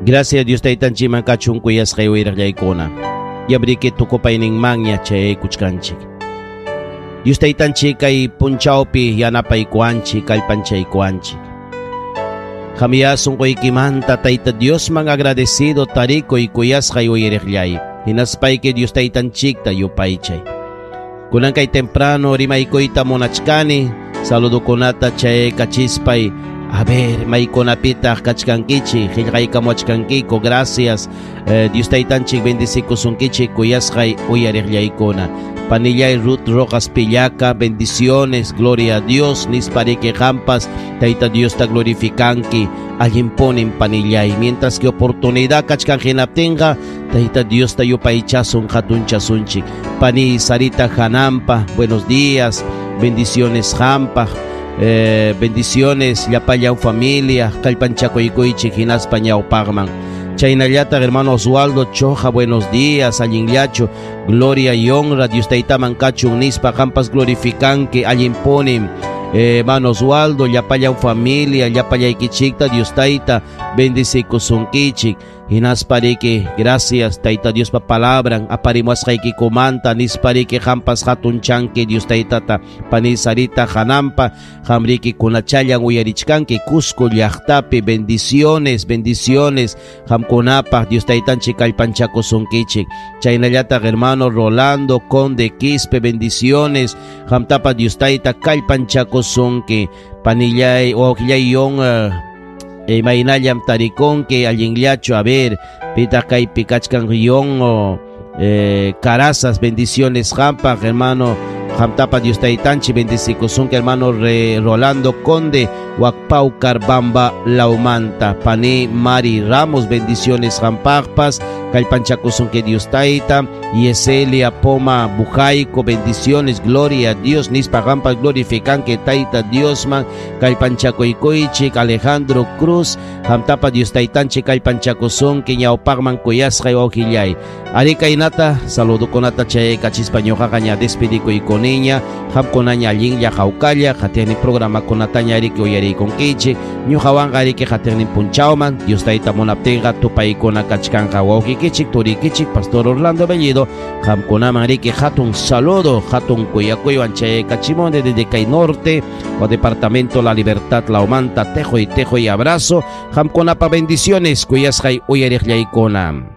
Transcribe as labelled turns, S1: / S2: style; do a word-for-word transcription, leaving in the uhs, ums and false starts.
S1: Gracias Dios taytanchikman kachun kuyasqay uyariqllaykuna. Yabriki tukupayninmanña chayaykuchkanchik. Dios taytanchik kay punchawpi yanapaykuwanchik, kallpanchaykuwanchik. Qamya sunquykimanta Tayta Diosman agradecido tarikuy kuyasqay uyariqllay. Hinaspayki Dios taytanchikta yupaychay. Kunan kay temprano rimaykuyta munachkani, saludukunata chayaykachispay. A ver, maykunapitaq kachkankichik, qillqaykamuachkankiku, gracias. Eh, Dios taytanchik bendicikusunkichik kuyasqay uyariqllaykuna. Panillay Ruth Rojas Pillaca, bendiciones, gloria a Dios, nispariki qampas, Tayta Dios ta glorificanki, allinpunin panillay. Mientras que oportunidad kachkan hinaptinqa, Tayta Dios ta yupaychasun hatunchasunchik. Pani Sarita Hanampa, buenos días, bendiciones qampa. Eh, bendiciones llapallan familia kallpanchakuykuychik hinaspa ñawpaqman. Chaynallataq hermano Oswaldo Choja, buenos días, allinllachu, gloria y honra Dios taytaman kachun nispa qampas glorificanki allinpunin. Eh, hermano Oswaldo, llapallan familia, llapallaykichikta Dios tayta bendicikusunkichik. Hinaspariki, gracias Tayta Diospa palabran aparimuasqaykikumanta nispariki qampas hatunchanki Dios taytata. Pani Sarita Hanampa, qamriki kunachallan uyarichkanki Cusco llaqtapi, bendiciones, bendiciones qamkunapaq Dios taytanchik kallpanchakusunkichik. Chaynallataq hermano Rolando Conde Quispe, bendiciones qamtapa Dios tayta kallpanchakusunki. Panillay wawqillay yon uh, imaynallam tarikunki allinllachu, a ver, pitaq kaypi kachkan yon o eh, Carazas, bendiciones qampaq hermano qamtapa Dios taytanchik bendicikusunki hermano Re, Rolando Conde Wakpaucar Bamba Laumanta. Pani Mari Ramos, bendiciones qampaqpas kallpanchakusunki Dios tayta. Yeselia Poma Bujaico, bendiciones, gloria a Dios, nispa qampas glorificanki Tayta Diosman kallpanchakuykuychik. Alejandro Cruz, qamtapa Dios taytanchik kallpanchakusunki ñawpaqman kuyasqay wawqillay. Ari kaynata saludukunata chayaykachispa ñuqaqa ña despedikuykuniña, qamkunaña allinlla hawkalla qatiqnin programakunataña ariki uyariykunkichik. Ñuqawanqa ariki qatiqnin punchawman Dios tayta munaptinqa tupaykuna kachkanqa. Wawqikichik turikichik Pastor Orlando Bellido, qamkunaman riki hatun saludo, hatun kuyakuywan chayaykachimuni desde kay norte o departamento La Libertad Laumanta, tejoy tejoy abrazo, qamkunapa bendiciones kuyasqay uyariqllaykuna.